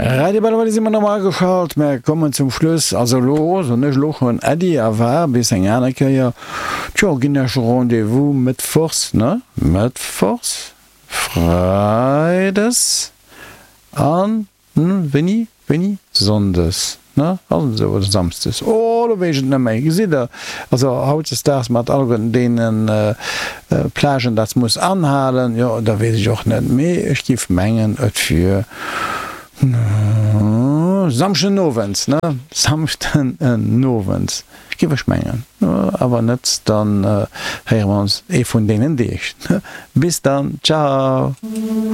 Radio Belval si mer normal ageschalt. Mer kommen zum Schluss. Also elo soen ech elo schonn Äddi a war bis eng aner Kéier. Tjo, ginn Iech Rendez-vous mëttwochs, ne? Mëttwochs, Freides an wéini? Wéini? Sonndes, ne? Ass et esou? Oder Samsdes? Oh, elo weess ech et net méi. Gesitt Der, also hautdesdaags mat alleguerten deene Plagen, dat muss anhalen, jo, da weess ech och net. Mee ech giff mengen, et wier Samschden owends, ne? Samschden owends, giff ech mengen. Awer net, dann héiere mer ons ee vun deenen Deeg. Bis dann, ciao!